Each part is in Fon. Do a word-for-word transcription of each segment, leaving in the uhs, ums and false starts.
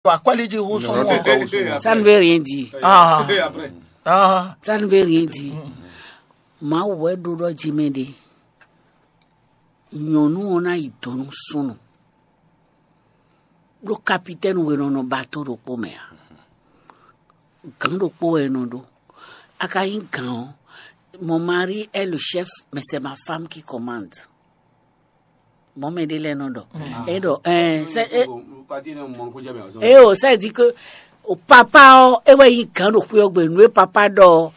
Akwɛ́líjí hú súnnu ɔ́. Ça ne veut rien dire. Ah. Ah. Ça ne veut rien dire. Mawu wɛ ɖó ɖɔ jí mɛ ɖe. Nyɔ̌nu ɔ́ ná yi do nú súnnu. Ɖó kapitɛ́ni we nɔ nɔ bato ɖokpó mɛ ǎ. Gǎn ɖokpó wɛ è nɔ ɖó. A ka nyí gǎn ɔ́, mon mari est le chef, mais c'est ma femme qui commande. Mɔ̌ mɛ ɖé lɛ́ɛ nɔ ɖɔ. É ɖɔ, ɛɛ, sɛ é é o, ça dit que o papa ɔ́, é wɛ nyí gǎn ɖo xwé ɔ́ gbe, nǔ e papa ɖɔ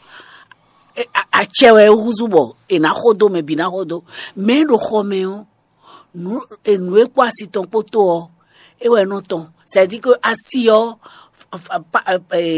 ɔ́, acɛ wɛ é húzú bɔ è nǎ xo dó, mɛ bǐ ná xo dó. Mɛ e ɖo xɔ mɛ ɔ́, nǔ e nǔ e kpó asi tɔn kpó tó ɔ́, é wɛ nɔ tɔn. C'est-à-dire que asi ɔ́,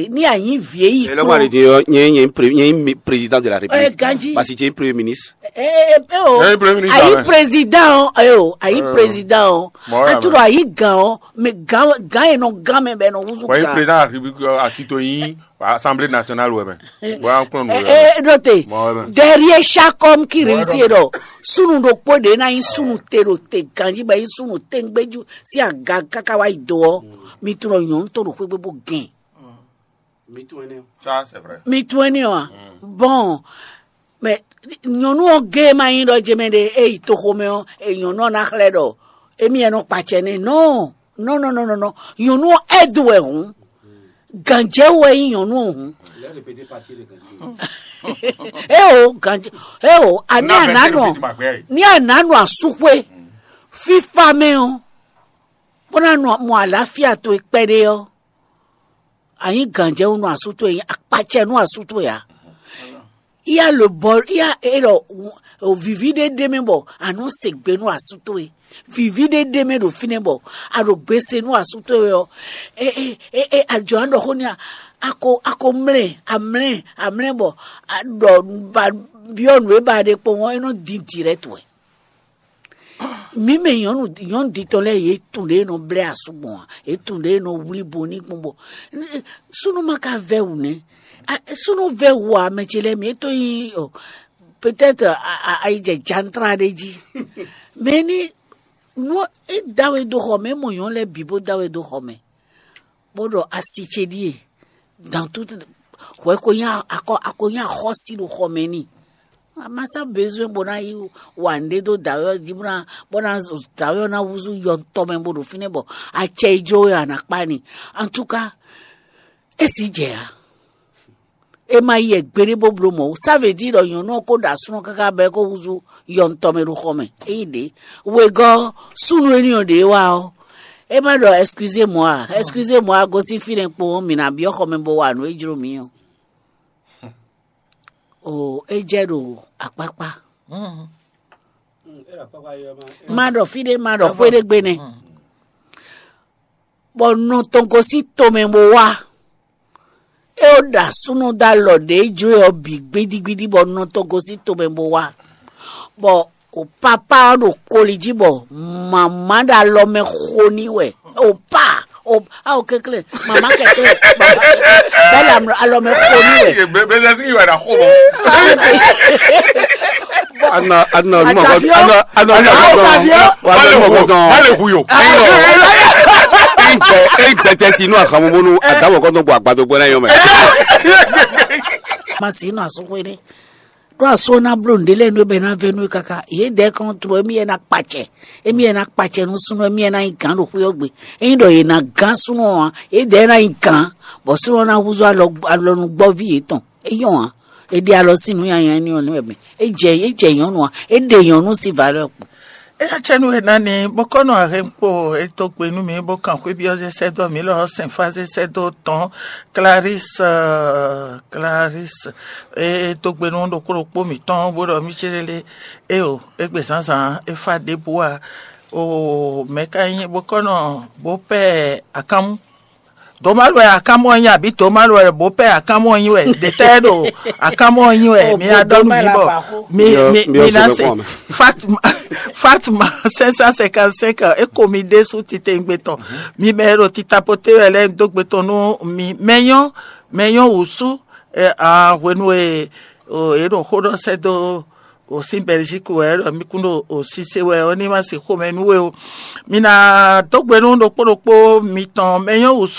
ní a nyí vǐ e yi. Elɔgba ɖe din ɔ́, nyɛ nyɛ nyɛ nyɛ président de la république. Ganji. Parce que tu es premier ministre. Ɛ ɛ ɛ o. Ɛ, premier ministre, ayi président ɔ, ɛ o, ayi président ɔ. Mɔ wɛ. Atúrò ayi gan ɔ, mɛ gan gan yẹn nɔ gan mɛ bɛ nɔ wuzu. Wọ́n yí gan. Président de la république ɔ, àti tó yín assemblée nationale wɛ mɛ. Bóyá ń kplɔ́n nù Ɛ wɛ. Ɛ dɔ te. Mɔ wɛ mɛ. Derrière chaque homme qui réussit ɖɔ sunu ɖokpó ɖe ná yí sunu te ɖo te ganji bɛ yí sunu te ŋgbéjú sí aga káká wá yi do ɔ. Mi tunɔ nyɔ̌nu tɔn ɖo xwégbé bó gɛn. Ça, c'est vrai. Mi tunɔ ɛnɛ ɔ. Bon, mais nyɔ̌nu ɔ́ gé ma nyí ɖɔ jɛmɛ ɖe é yi toxomɛ ɔ́, é nyɔ̌nu ɔ́ ná xlɛ́ ɖɔ émí ɛ nɔ kpacɛ nɛ. Non, non, non, non, non, non. Nyɔ̌nu ɔ́ ɛ́ do wɛ hǔn. Gǎnjɛ wɛ nyí nyɔ̌nu ɔ́ hǔn. É o gǎnjɛ é o àní ànánú ní ànánú asúxwé fífá mɛ ɔ́, bó ná nɔ mɔ àlàáfíà towe kpɛɖé ɔ́, a nyí gǎnjɛwú nú asú towe, a nyí akpacɛ nú asú towe ǎ. Iya le bɔ iya é ɖɔ o vivi ɖé ɖé mɛ bɔ a nɔ se gbe nú asú towe. Vivi ɖé ɖé mɛ ɖo fínɛ́ bɔ a ɖo gbe se nú asú towe ɔ́, e e e e a jɔ an ɖɔ xó n'i a, a ko a ko mlɛ a mlɛ a mlɛ bɔ a ɖɔ ba byɔ́ nǔ e ba ɖe kpɔ́n ɔ́, é nɔ dín direct wɛ. Mǐ mɛ nyɔ̌nu nyɔ̌nu ɖitɔ́ lɛ́ɛ yě tunwun ɖě e nɔ blɛ́ asú gbɔn ǎ, yě tunwun ɖě e nɔ wlí bo ní gbɔn bɔ súnnu ma ka vɛ́ wǔ nɛ́. Súnnu vɛ́ wǔ ǎ, mɛ ce lɛ́ɛ mǐ é tó nyí ɔ peut-être ayijɛ jantra ɖé jí. Mɛ ní nú é da we dó xɔ mɛ, é mɔ nyɔ̌nu lɛ́ɛ bǐ bó da we dó xɔ mɛ. Bó ɖɔ asi ce ɖíe dan tout hwɛ ko nyí akɔ ako nyí axɔ́sí ɖo xɔ mɛ n'i. A ma sá besoin bó ná yi wa nǔɖé dó dǎwe ɔ́ jí bó ná bó ná dǎwe ɔ́ ná húzú yɔntɔn mɛ bó ɖo fínɛ́ bɔ acɛ yi jó wɛ a nǎ kpá n'i. En tout cas, é sì jɛ ǎ. É ma yi gbeɖé bó bló mɔ̌ wú. Ça veut dire ɖɔ nyɔ̌nu ɔ́ ko ɖo asúnɔ káká bɔ é ko húzú yɔntɔn mɛ ɖo xɔ mɛ. É nyí ɖě. Wegɔ́ súnnu énɛ́ ɔ́ ɖě wá ɔ́, é má ɖɔ excusez moi, excusez moi, gosín fínɛ́ kpowun mǐ ná byɔ́ xɔ mɛ bó wa nǔ e jló mǐ ɔ́. O é jɛ ɖo akpákpá. Má ɖɔ fí ɖé, má ɖɔ xwé ɖé gbe nɛ́. Bɔ nɔ tɔn gosín tomɛ bó wá. É ó ɖa súnnu dó alɔ ɖě jló ɔ́ bǐ gbídígbídí bɔ nɔ tɔn gosín tomɛ bó wá. Bɔ o papa ɔ́ ɖo koli jí bɔ mama ɖo alɔ mɛ xo n'i wɛ. O pa o awo kɛklɛ mama kɛklɛ bɛlɛ alɔ mɛ xo n'i wɛ. Bɛlɛ sigi wɛ na xo mɔ. Ana ana nu ma kɔ ana ana nu ma kɔ dɔn wa nu ma kɔ dɔn. Má lè hu yo. Egbɛ egbɛ tɛ si nu ahamumunu adamɔ kɔntɔn bɔ agbadogbo na yɔ mɛ. Ma si nu asukwe ne. Ɖó asó ná bló nǔɖé lɛ́ɛ nú é bɔ é ná vɛ́ nú é káká. Yě dɛɛ kɔn tló émí yɛ ná kpacɛ. Émí yɛ ná kpacɛ nú súnnu émí yɛ ná nyí gǎn ɖo xwé ɔ́ gbe. Ényí ɖɔ yě ná gán súnnu ɔ́ ǎ, yě dɛɛ ná nyí gǎn, bɔ súnnu ɔ́ ná húzú alɔnugbɔ́ví yětɔn. É nyɔ́ ǎ. È ɖe alɔ sín nǔ nyanya énɛ́ ɔ́ nú wɛ mɛ. É jɛ é jɛ nyɔ̌nu ǎ. É ɖe nyɔ̌nu sín valeur kpo. Eya cɛnu e ná ni bó kɔ nɔ ahɛnkpo e dó gbe nú mì bó kan xwébyɔ́ zé sɛ́ dó mǐ lɔ sɛnfá zé sɛ́ dó tɔn Clarisse, Clarisse e dó gbe nú ɖokpó ɖokpó mǐtɔn bó ɖɔ mì célélé. Éyo, égbé zǎnzǎn é fá ɖěbǔ ǎ. O mɛ̌ ka nyí bó kɔ nɔ bó pɛ akánmú? Domalu wɛ akamɔ nyi abi domalu wɛ bo pɛ akamɔ nyi wɛ detɛ ɖo akamɔ nyi wɛ mi adɔ nu mi bɔ mi mi mi na se. Fatma Fatma cinq cent cinquante-cinq eko mi ɖésú titewungbe tɔn mi mɛ ɖo titapote wɛ lɛ do gbe tɔn nu mi mɛnyɔ mɛnyɔ wusu. A hwenu e e ɖo xó ɖɔ sɛ do o sín Bɛlízíku wɛ ɖɔ mí kún ɖo o sísé wɛ ɔ́ ní ma se xomɛ nú we o. Mi ná dó gbe nú ɖokpó ɖokpó mitɔn mɛ nyɔ́ wǔ sú